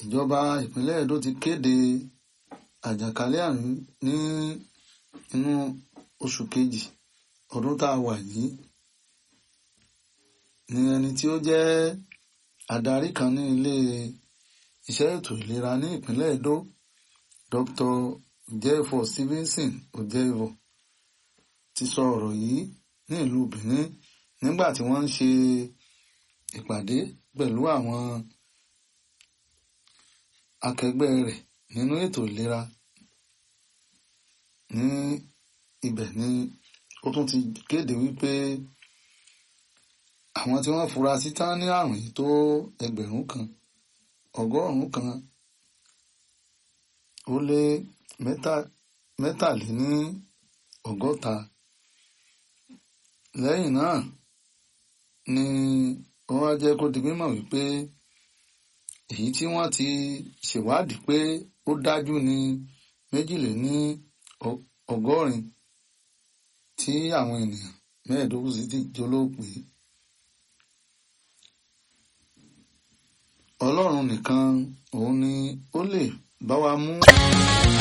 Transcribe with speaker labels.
Speaker 1: Ìjọba ìpínlẹ̀ Edo ti kéde àjàkálẹ̀ àrùn ní inú oṣù kejì ọdún tá a wà yìí ní ẹni tí ó jẹ́ adarí kan ní ilé iṣẹ́ ètò ìlera ní ìpínlẹ̀ Edo, Dr. Ojefo Stevenson Ojefo, ti sọ ọ̀rọ̀ yìí ní ìlú Benin nígbà tí wọ́n ń ṣe ìpàdé pẹ̀lú àwọn akẹgbẹ́ rẹ̀ nínú ètò ìlera ní ibẹ̀ ni ó tún ti kéde wípé àwọn tí wọ́n fura sí tán ní àrùn yìí tó 1,100 ó lé 63. Lẹ́yìn náà ni wọ́n wá jẹ́ kó di mímọ̀ wípé èyí tí wọ́n ti ṣèwádìí pé ó dájú ní 82 tí àwọn ènìyàn 15 sì ti jólóògbé. Ọlọ́run nìkan òun ni ó lè bá wa mú.